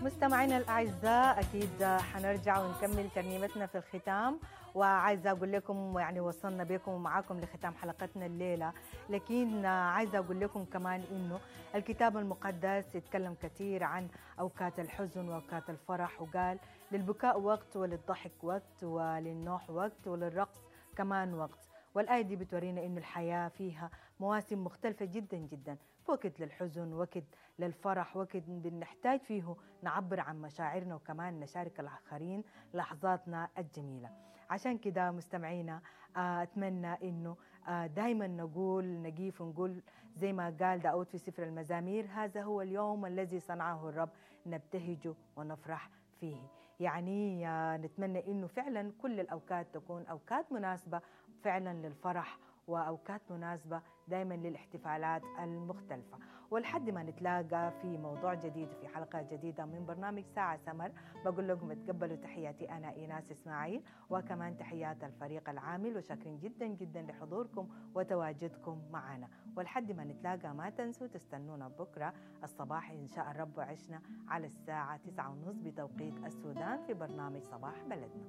مستمعينا الأعزاء، أكيد حنرجع ونكمل ترنيمتنا في الختام، وعايزة أقول لكم يعني وصلنا بكم ومعاكم لختام حلقتنا الليلة، لكن عايزة أقول لكم كمان إنه الكتاب المقدس يتكلم كثير عن أوقات الحزن وأوقات الفرح، وقال للبكاء وقت وللضحك وقت وللنوح وقت وللرقص كمان وقت. والآية دي بتورينا إنه الحياة فيها مواسم مختلفة جدا جدا، وقت للحزن، وقت للفرح، وقت بنحتاج فيه نعبر عن مشاعرنا وكمان نشارك الآخرين لحظاتنا الجميلة. عشان كده مستمعينا، أتمنى إنه دايما نقيف ونقول زي ما قال داود في سفر المزامير: هذا هو اليوم الذي صنعه الرب، نبتهج ونفرح فيه. يعني نتمنى إنه فعلا كل الأوقات تكون أوقات مناسبة فعلا للفرح، وأوقات مناسبة دايما للاحتفالات المختلفة. ولحد ما نتلاقى في موضوع جديد في حلقة جديدة من برنامج ساعة سمر، بقول لكم تقبلوا تحياتي أنا إيناس إسماعيل، وكمان تحيات الفريق العامل، وشاكرين جدا جدا لحضوركم وتواجدكم معنا. ولحد ما نتلاقى ما تنسوا تستنونا بكرة الصباح إن شاء الرب وعشنا على الساعة 9:30 بتوقيت السودان في برنامج صباح بلدنا.